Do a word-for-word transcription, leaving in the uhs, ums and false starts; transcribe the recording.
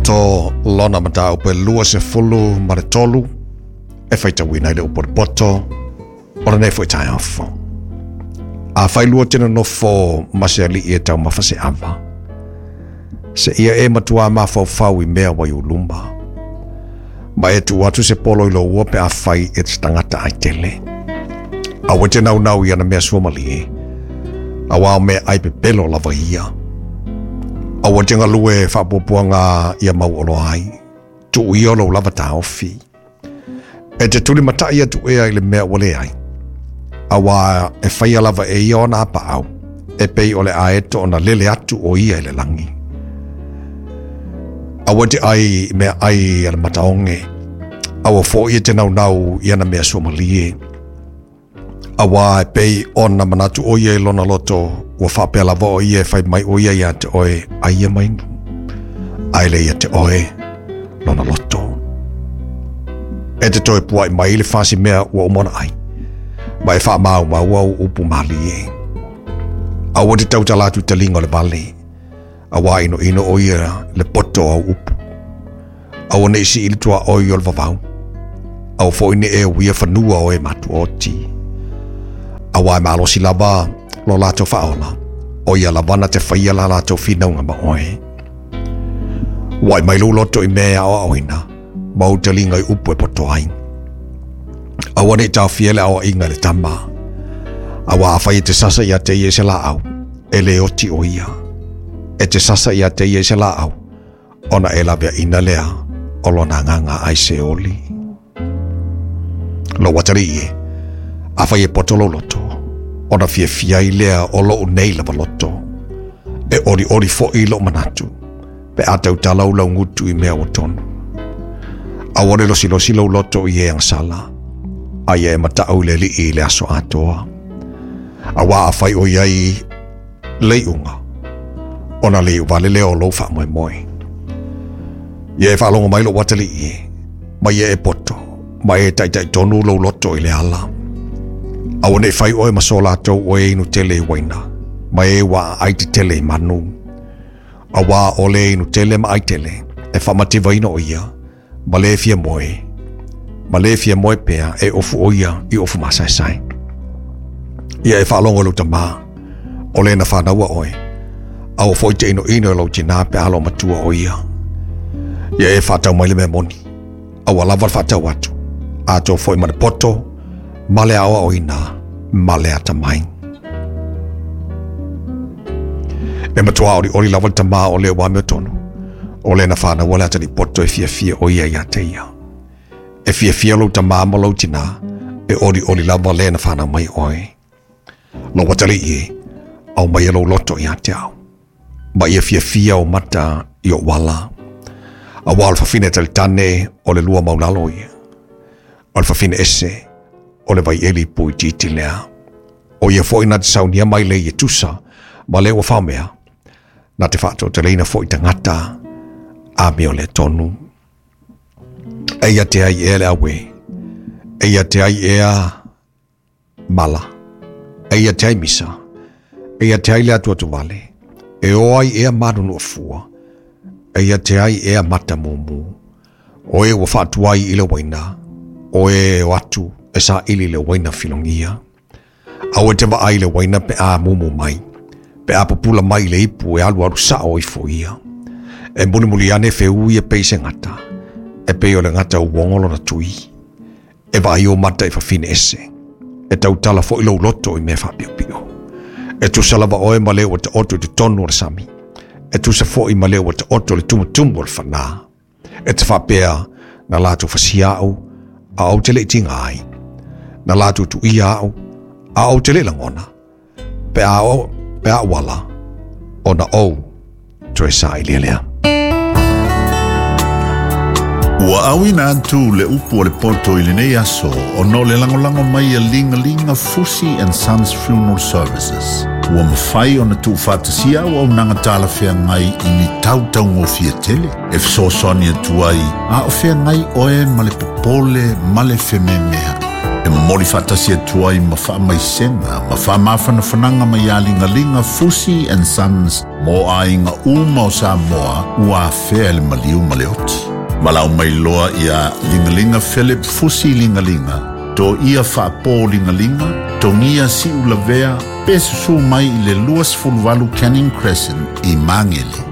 poto lona mataupu e luasefulu ma le tolu e faitauina i le upu o le poto o lenei fo'i taeao fou. Afai lua te nonofo ma se ali'i e taumafa se ava, seia e matuā mafaufau i mea ua i ou luma, ma e tuu atu se polo i lou ua pe afai e te tagata ai tele. Aua e te naunau i ana mea suamalie, auā o meaai pepelo lava ia. Aua e te galue faapuapuaga ia mauoloa ai, tuu ia o lou lava taofi. E te tulimata'i atu ea i le mea ua leai, auā e faia lava e ia ona apaau, e pei o le aeto ona lele atu o ia i le lagi. Aua e te ai i meaai a le mataoge, aua fo'i e te naunau i ana mea suamalie, auā e pei ona manatu o ia i lona loto, ua faapea lava o ia e fai mai o ia iā te oe ai ia ma inu, ae le ia te oe lona loto. E te toe pua'i mai i le fasi mea ua uma ona ai, ma e faamaumaua au upu malie. Aua e te tautala atu i taliga o le vale, auā inoino o ia le poto o au upu. Aua nei sii le tuaoi o le vavau, aua fo'i nei e uia fanua o e matuoti. Auā e malosi lava lo latou faaola, o ia lava na te faia la latou finauga ma oe. Ua'i mai lou loto i mea e aoaoina, ma ou taliga i upu e poto ai. Aua nei taofia le aoaiga i le tama, auā afai e te sasa iā te ia i se laau, e lē oti o ia. E te sasa iā te ia i se laau, ona e laveaina lea o lona agaga ai se oli. Lou atalii e, afai e poto lou loto, ona fiafia ai lea o lou nei lava loto. E olioli fo'i lou manatu, pe a tautala ou laugutu i mea ua tonu. Aua le losilosi lou loto i e agasala, a ia e mata'u i le Alii i le aso atoa. Auā afai o i ai le iuga, ona le iu vale lea o lou faamoemoe. Ia e faalogo mai lou atalii e, ma ia e poto, ma e taitaitonu lou loto i le ala. Aua nei fai oe ma so latou o e inu tele i uaina, ma e ua aai tetele i manu. Auā o le inu tele ma ai tele, e faamativaina o ia, ma le fia moe, ma le fia moe pea e ofu o ia i ofu masaesae. Ia e faalogo i lou tamā, o le na fanaua oe, aua fo'i te inoino i lou tinā pe a loomatua o ia. Ia e faatau mai le mea moni, aua lava le faatau atu, atoa fo'i ma le poto, ma le aoaoina, ma le atamai. E matuā olioli lava le tamā o le ua amiotonu, o le na fanaua le atalii poto e fiafia o ia iā te ia. E fiafia lou tamā ma lou tinā, e olioli lava le na fanau mai oe. Lou atalii e, aumaia lou loto iā te au, ma ia fiafia ou mata i ou ala. Auā o le fafine talitane o le lua maulalo ia, o le fafine ese o le vaieli puitiiti lea. O ia fo'i na te saunia mai lei e tusa ma le ua faomea, na te faatoateleina fo'i tagata amio le tonu. Eia te ai ea le aue, eia te ai ea mala, eia te ai misa, eia te ai le atuatuvale, e o ai ea manunuafua, eia te ai ea mata mumu. O e ua faatuai i le uaina, o e o atu e saili le uaina filogia. Aua e te vaai i le uaina pe a mumu mai, pe a pupula mai i le ipu e alualu sao ifo ia. E mulimuli ane feui e pei se gata, e pei o le gata uogo lona tui. E vaai ou mata i fafine ese, e tautala fo'i lou loto i mea faapiopio. E tusa lava oe ma le ua taoto i totonu o le sami, e tusa fo'i ma le ua taoto i le tumutumu o le fanā. E te faapea na latou fasia au, a ou te le i tiga ai, na latou tuuia au, a ou te le i lagona, pe a o, pe a ou ala, ona ou toe sailia lea. Ua auina atu le upu o le poto i lenei aso ona o le lagolago mai a Ligalia Fusi and Sons Funeral Services. Ua mafai ona tuufaatasia auaunaga talafeagai i ni tautaugofie tele e fesoasoani atu ai a o feagai oe ma le popole ma le fememea'i. E momoli faatasi atu ai ma faamaisega ma faamafanafanaga mai iā Ligalia Fusi and Sons mo aiga uma o Samoa ua afea le maliu ma le oti. Valaau mai loa ia Ligalia Philip Fusi Ligalia, to ia faapō Ligalia, Togia Siulavea, pe susū mai i le luasefuluvalu Canning Crescent i Magele.